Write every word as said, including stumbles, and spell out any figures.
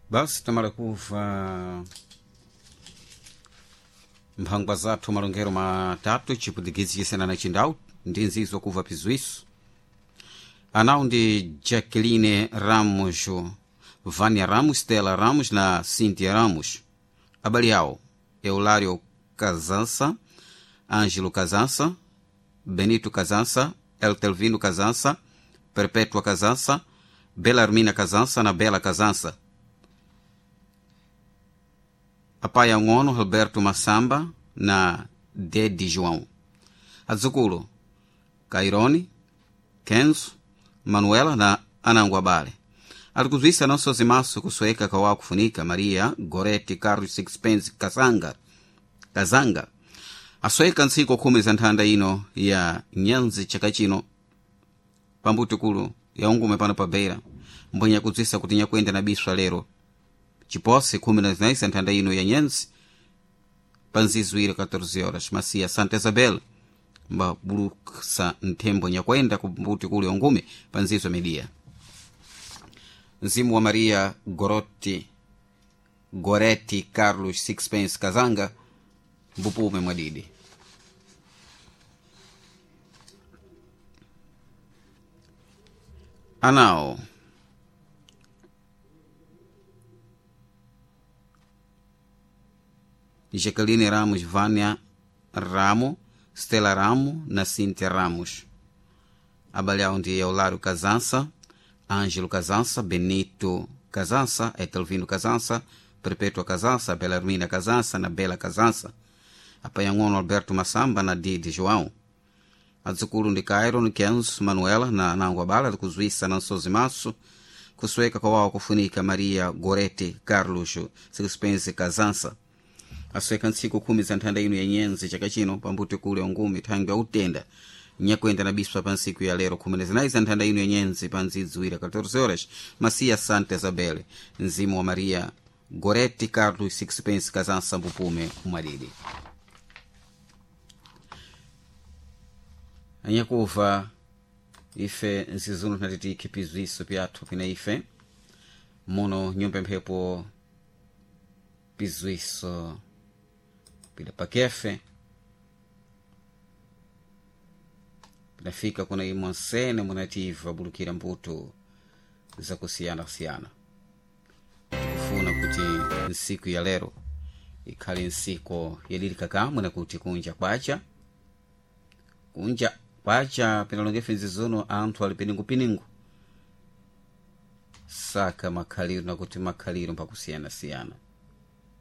Basi tamala kuva mphangwa zathu malongero matatu chiputikidzi chisena na chindau ndi nzizo kuva pizwiso anawu ndi Jacqueline Ramos, Vânia Ramos, Stella Ramos na Cíntia Ramos. Abale awo Eulário Casança, Ângelo Casança, Benito Casança, Eltelvino Casança, Perpétua Casança, Belarmina Casança na Bela Casança. Apai Angono Roberto Massamba na Dede João. Adzukulu Cairone, Kenzo, Manuela na Ananguabale. Alikuzwisa não sozimaso kusoeka kawa kufunika Maria Goreti Carlos Sixpence Kasanga Kazanga asoeka ntsiku khumi za nthanda ino ya nyanzi chaka chino pambutikulu ya ungume pano pa Beira mbwenya kudzwisa kuti nyakuenda na biswa lero chipose khumi na zinayi za nthanda ino ya nyanzi panzizwire catorze horas masiya Santa Isabel mbabuluksa nthembo nyakwenda ku mbutikulu ya ungume panzizwa midia mzimu wa Maria Goroti Goretti Carlos Sixpence Kazanga mbupume mwadidi. Anao Jacqueline Ramos, Vânia Ramo, Stella Ramo na Cíntia Ramos. Abale ndi Eulário Casança, Ângelo Casança, Benito Casança, Etelvino Casança, Perpétua Casança, Belarmina Casança, na Bela Casança, Apanhangono Alberto Massamba, na Didi João. Adzukulu ndi Cairo, ni Kenzo, Manuela, na Nanguabala, kuzuisa na Nsozimaso, kusueka kwa kufunika Maria Gorete Carlos Sixpence Casança. Asweka ntsiku khumi za nthanda ino ya nyenzi chaka chino pambuti kule ungumi thangwi yautenda nyakwenda na biswa pa ntsiku ya lero khumi na zinayi za nthanda ino ya nyenzi pa nzidziwira catorze horas masiya Santa Isabel mzimu wa Maria Goretti Carlos Sixpence Casança mbupume mwadidi. Anyakuva ife nzizuno tinati tikhipizwiso pyathu pina ife muno nyumba mphepo pizwiso pila pakefe pinafika kuna imwe nsene munativa bulukira mbuto zakusiyana-siyana. Tikufuna kuti nsiku ya lero ikhale nsiku yalilika kamwe nakuti kunja kwacha kunja kwacha pinalongefe nzizuno anthu ali piningupiningu saka makhaliro nakuti makhaliro mpakusiyana-siyana.